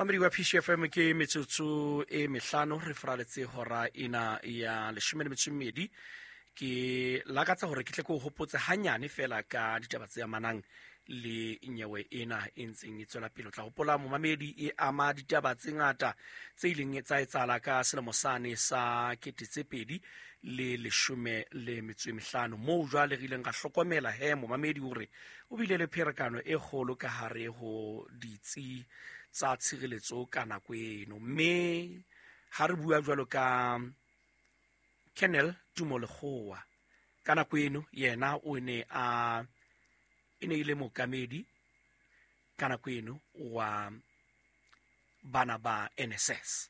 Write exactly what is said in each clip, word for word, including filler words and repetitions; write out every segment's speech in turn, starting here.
Mamedi wa P C F M, ke metsotso e mehlano re fraletse hora ena ya leshome le metso e mmedi. Ke lakatsa hore ke tle ke o hopotse hanyane fela ka ditaba tse amanang le nyewe ena e ntseng e tswela pele. O tla hopola momamedi e ama ditaba tse ngata tse ileng tsa etsahala ka selemo sane sa kete tse pedi le leshome le metso e mehlano, moo jwale re ileng ra hlokomela he momamedi hore o bile le pherekano e kgolo ka hare ho ditsi tsa tshireletso ka nako eno. Mme ha re bua jwalo ka Colonel Tumo Lekgowa, ka nako eno yena o ne a e ne e le mookamedi ka nako eno wa bana ba N S S,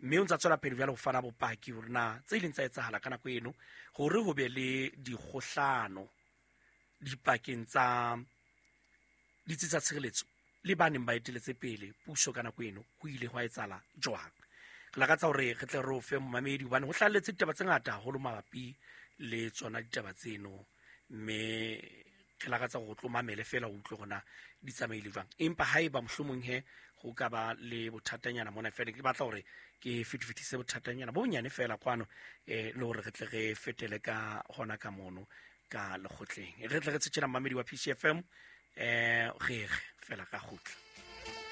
mme o ntsa tswela pele jwale ho fana bopaki hore na tse ileng tsa etsahala ka nako eno hore ho be le dikgohlano dipakeng tsa ditsi tsa tshireletso le ba neng ba eteletse pele puso ka nako eno, ho ile hwa etsahala jwang. Re lakatsa hore re tle re o fe momamedi hobane ho hlahelletse ditaba tse ngata haholo mabapi le tsona ditaba tseno, mme re lakatsa hore o tlo mamele fela o utlwe hore na di tsamaile jwang. Empa haeba mohlomong he ho ka ba le bothatanyana mona fela, ke batla hore ke fetifetise bothatanyana bo bonyane fela kwano, eh, le hore re tle re fetele ka hona ka mono ka lekgotleng. Re tle re tshetshe mamedi wa P C F M, eh, re re fela ka kgutla.